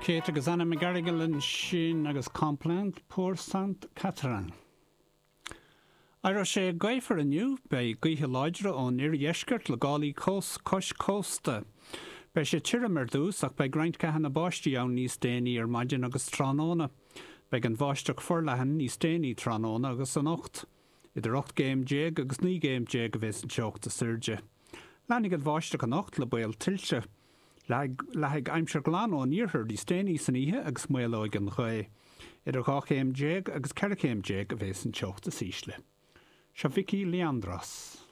Kate agus Anna McGarrigle ansin agus Complainte pour Sainte Catherine. Éireoidh sé gaofar inniu, beidh gaotha láidre ón oirdheisceart le gálaí cois cósta. Beidh sé tirim ar dtús ach beidh roinnt ceathanna báistí ann níos déanaí ar maidin agus tráthnóna. Beidh an bháisteach forleathan níos déanaí tráthnóna agus anocht. Idir 18 gcéim agus 19 gcéim a bheas an teocht is airde. Leanfaidh an bháisteach anocht le baol tuilte. Leathfaidh aimsir ghlan ón iarthar níos déanaí san oíche agus maolóidh an ghaoth. Idir 12 chéim agus 14 chéim a bheas an teocht is ísle. Seo Vicky Leandros.